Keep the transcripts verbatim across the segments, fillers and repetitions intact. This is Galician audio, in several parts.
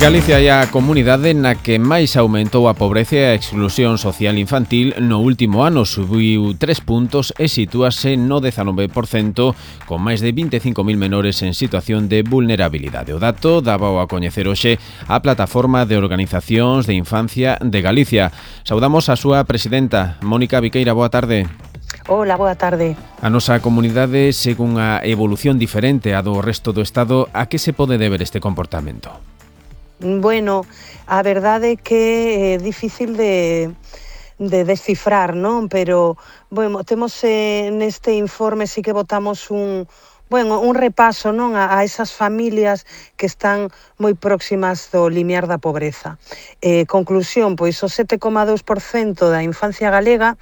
Galicia é a comunidade na que máis aumentou a pobreza e a exclusión social infantil no último ano. Subiu tres puntos e sitúase no dezanove por cento, con máis de vinte e cinco mil menores en situación de vulnerabilidade. O dato dábao a coñecer hoxe a Plataforma de Organizacións de Infancia de Galicia. Saudamos a súa presidenta, Mónica Viqueira. Boa tarde. Hola, boa tarde. A nosa comunidade segue unha evolución diferente á do resto do Estado. A que se pode deber este comportamento? Bueno, a verdade é que é difícil de, de descifrar, non? Pero, bueno, temos eh, neste informe sí que botamos un, bueno, un repaso, non, a, a esas familias que están moi próximas do limiar da pobreza. Eh, conclusión, pois o sete coma dous por cento da infancia galega,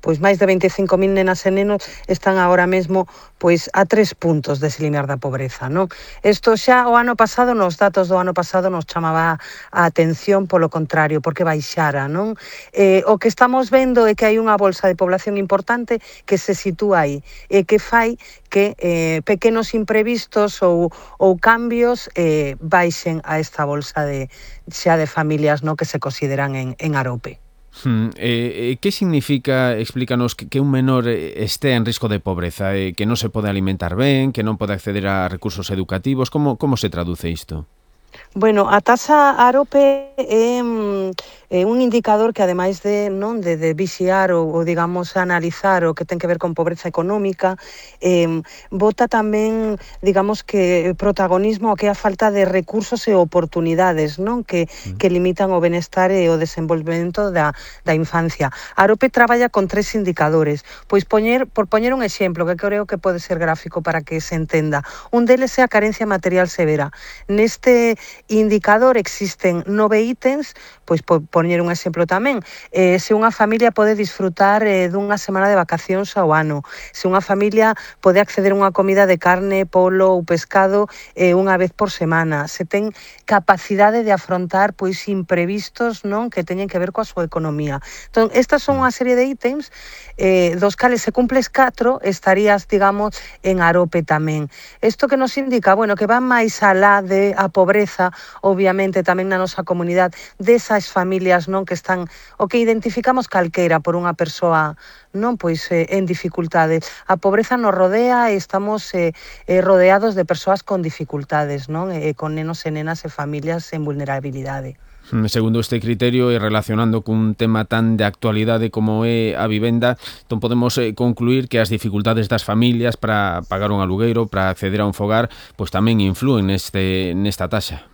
pois máis de veinticinco mil nenas e nenos están agora mesmo pois a tres puntos dese limiar da pobreza, non? Isto xa o ano pasado, nos datos do ano pasado nos chamaba a atención polo contrario, porque baixara, non? Eh, o que estamos vendo é que hai unha bolsa de población importante que se sitúa aí e que fai que eh, pequenos imprevistos ou, ou cambios eh, baixen a esta bolsa de xa de familias, non, que se consideran en, en Arope. Hmm, eh, que significa, explícanos, que, que un menor este en risco de pobreza, eh, que non se pode alimentar ben, que non pode acceder a recursos educativos? Como, como se traduce isto? Bueno, a taxa Arope é, é un indicador que ademais de, non, de, de vixiar ou, ou digamos analizar o que ten que ver con pobreza económica, eh, bota tamén, digamos que protagonismo o que é a falta de recursos e oportunidades, non, que, que limitan o benestar e o desenvolvemento da, da infancia. Arope traballa con tres indicadores, pois poñer, por poñer un exemplo que creo que pode ser gráfico para que se entenda. Un deles é a carencia material severa. Neste indicador existen nove ítems, pois por poñer un exemplo tamén, eh, se unha familia pode disfrutar eh, dunha semana de vacacións ao ano, se unha familia pode acceder a unha comida de carne, polo ou pescado eh, unha vez por semana, se ten capacidade de afrontar pois imprevistos, non, que teñen que ver coa súa economía. Entón, estas son unha serie de ítems eh, dos cales se cumples catro, estarías, digamos, en Arope tamén. Isto que nos indica, bueno, que van máis alá de a pobreza, obviamente tamén na nosa comunidade, desas familias, non, que están, o que identificamos calqueira por unha persoa, non, pois eh, en dificultades. A pobreza nos rodea e estamos eh, eh, rodeados de persoas con dificultades, non, e eh, con nenos e nenas e familias en vulnerabilidade. Segundo este criterio e relacionando cun tema tan de actualidade como é a vivenda, entón podemos eh, concluir que as dificultades das familias para pagar un alugueiro, para acceder a un fogar, pois tamén influen neste, nesta taxa.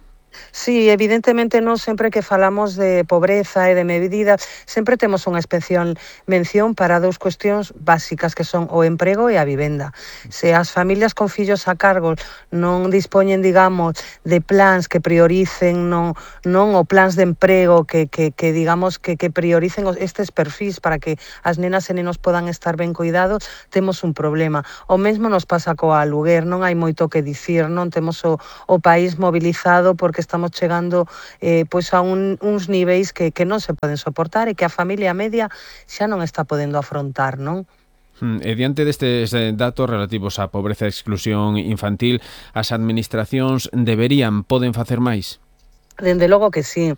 Sí, evidentemente non sempre que falamos de pobreza e de medidas, sempre temos unha especial mención para dous cuestións básicas que son o emprego e a vivenda. Se as familias con fillos a cargo non dispoñen, digamos, de plans que prioricen, non, non o plans de emprego que, que, que digamos, que, que prioricen estes perfis para que as nenas e nenos podan estar ben cuidados, temos un problema. O mesmo nos pasa coa aluguer, non hai moito que dicir, non temos o, o país mobilizado porque estamos chegando eh, pois a un, uns niveis que, que non se poden soportar e que a familia media xa non está podendo afrontar, non? E diante destes datos relativos á pobreza e exclusión infantil, as administracións deberían, poden facer máis? Dende logo que sí,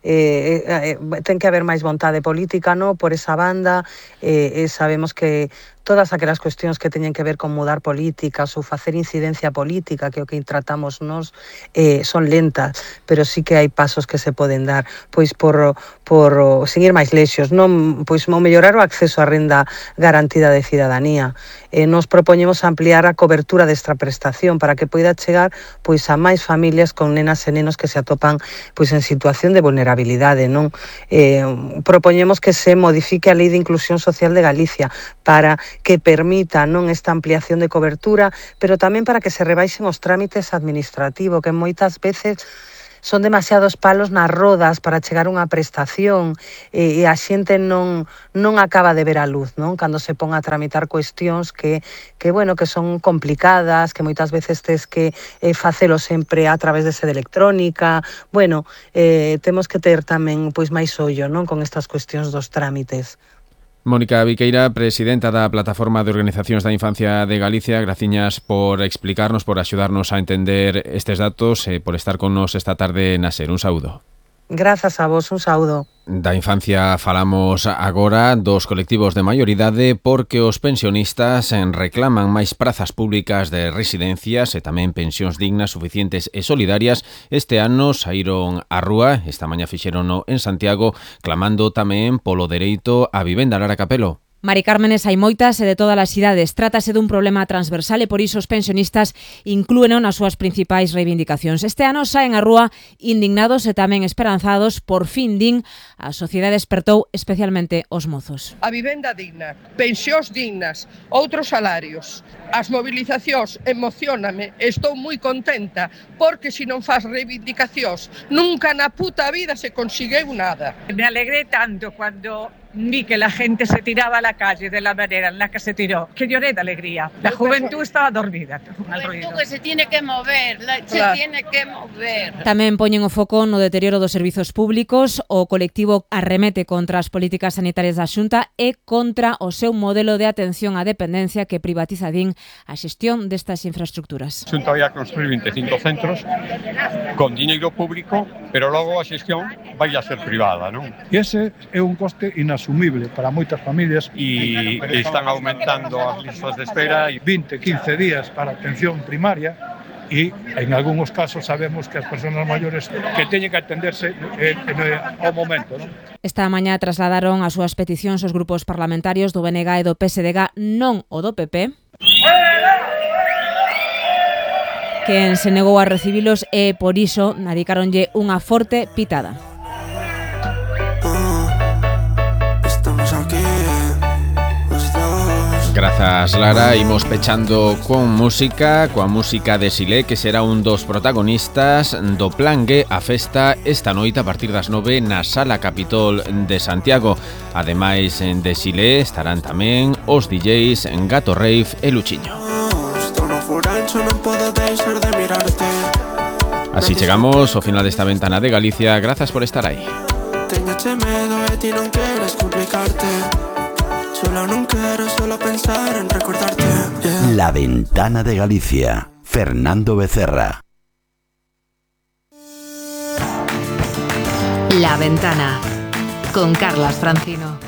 eh, eh, ten que haber máis vontade política, no, por esa banda, eh, eh, sabemos que todas aquelas cuestións que teñen que ver con mudar políticas ou facer incidencia política, que é o que tratamos nos, eh, son lentas, pero sí que hai pasos que se poden dar, pois por, por seguir máis lexos, non, pois mellorar o acceso á renda garantida de cidadanía. Eh, nos propoñemos ampliar a cobertura desta prestación para que poida chegar pois a máis familias con nenas e nenos que se atopan pois en situación de vulnerabilidade, non? Eh, propoñemos que se modifique a Lei de Inclusión Social de Galicia para que permita, non, esta ampliación de cobertura, pero tamén para que se rebaixen os trámites administrativos, que moitas veces son demasiados palos nas rodas para chegar a unha prestación e, e a xente non, non acaba de ver a luz, non? Cando se pon a tramitar cuestións que, que, bueno, que son complicadas, que moitas veces tes que eh, facelo sempre a través de sede electrónica. Bueno, eh, temos que ter tamén pois máis ollo, non, con estas cuestións dos trámites. Mónica Viqueira, presidenta da Plataforma de Organizacións da Infancia de Galicia, graciñas por explicarnos, por axudarnos a entender estes datos e por estar con nos esta tarde na SER. Un saúdo. Grazas a vos, un saúdo. Da infancia falamos agora dos colectivos de maioridade porque os pensionistas reclaman máis prazas públicas de residencias e tamén pensións dignas, suficientes e solidarias. Este ano saíron á rúa, esta mañá fixerono en Santiago, clamando tamén polo dereito á vivenda. Lara Capelo. Mari Cármenes, hai moitas e de todas as idades. Trátase dun problema transversal e por iso os pensionistas inclúeno nas súas principais reivindicacións. Este ano saen á rúa indignados e tamén esperanzados. Por fin, din, a sociedade despertou, especialmente os mozos. A vivenda digna, pensións dignas, outros salarios. As movilizacións emocioname, estou moi contenta, porque se non faz reivindicacións, nunca na puta vida se consigueu nada. Me alegré tanto cuando vi que la gente se tiraba a la calle de la manera en la que se tiró, que lloré de alegría. La juventud estaba dormida. La juventud que se tiene que mover, la, se Claro. tiene que mover. Tamén poñen o foco no deterioro dos servizos públicos. O colectivo arremete contra as políticas sanitarias da Xunta e contra o seu modelo de atención á dependencia que privatiza, din, a xestión destas infraestructuras. A Xunta vai a construir vinte e cinco centros con diñeiro público, pero logo a xestión vai a ser privada, non? E ese é un coste inasumible para moitas familias. E están aumentando as listas de espera. vinte, quince días para atención primaria e en algúns casos sabemos que as persoas maiores que teñen que atenderse eh, eh, ao momento, non? Esta mañá trasladaron as súas peticións os grupos parlamentarios do B N G e do P S D G, non o do P P, quen se negou a recibilos e por iso adicáronlle unha forte pitada. Grazas, Lara. Imos pechando con música, coa música de Silé, que será un dos protagonistas do Plan G, a festa esta noite a partir das nove na Sala Capitol de Santiago. Ademais de Silé estarán tamén os D Js Gato Rave e Luchiño. Así chegamos ao final desta ventana de Galicia. Grazas por estar aí. Solo no quiero solo pensar en recordarte. Yeah. La Ventana de Galicia. Fernando Becerra. La Ventana con Carlas Francino.